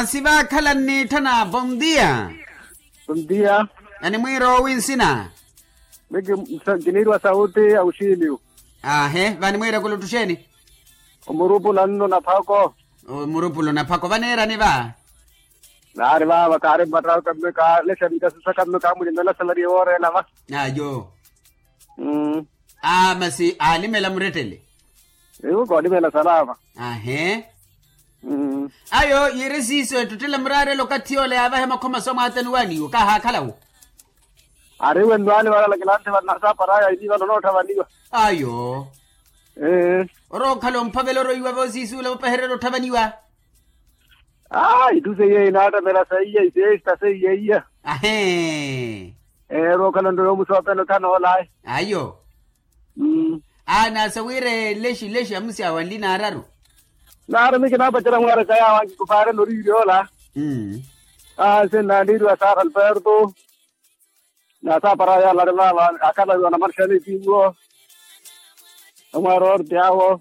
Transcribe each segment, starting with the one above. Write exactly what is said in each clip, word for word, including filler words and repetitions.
Masi vaakhala nniitthana bondia. Bondia. Animwiira owi nsina? Miki kiniiriwa sauti ya uxiliu. Ahe vanimwiira kulutthu xeeni? Omurupula nno naphako. Omurupula naphako vaneerani va? Naari vaava kaari mmattawe kamme kaalexa mikasusa kamme kaamulimela salari yooreela va. Ayo. Mmm. Aa masi aalimela murettele. Iwo koolimela salama. Ahe. Mmm. Ayo yiiri siiso ettettela muraarela okathi yoola yaavahe makhoma so mwaatani waaniwo kaahaakhalawo. Ari wenno aali vale alakilanthe vale nasaapara aya ini vale onootthavaniwa. Ayo. Orookhala omphavela oroiwa voosiisuula vopahererya otthavaniwa. Aa itthu seiya inaattapela seiya iseesta seiya iya. Ahee. Orookhala nto yoomusoopela othana oolayi. Ayo. Aa naasa wira elexi lexi amusyawa nli naararu. Naari mi kinaapacerya mwaaraka yaawo ankikupaarela oriirya ola. Aa nse nnaaniiriwa saara alberto. Nasaapara yaala ari vaava akhala wiwa namarixani etiiwo. Amwaari orti awo.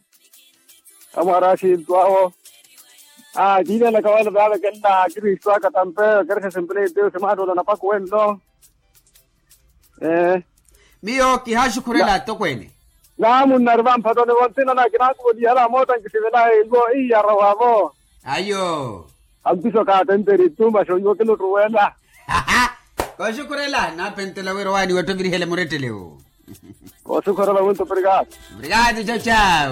Amwaari axintu awo. Aa kiivelaka wala vaava kenna akristu aka tampe. Kerexexe mpuleti simaattoola napako wenno. Miyo kihaaxukhurela atokweene. Naamunna ari vamphatoni vontsina na kinaakuvolihala mootta nkisivelahe ivo iyara wavo. Ayo. Ampiso kaatenteri tuma xo iwo kinuttuwela. Kooxukhurela naapentela wira owaani wettovirihele murettelewo. Kooxukhurela winto obrigado. Obrigado chacha.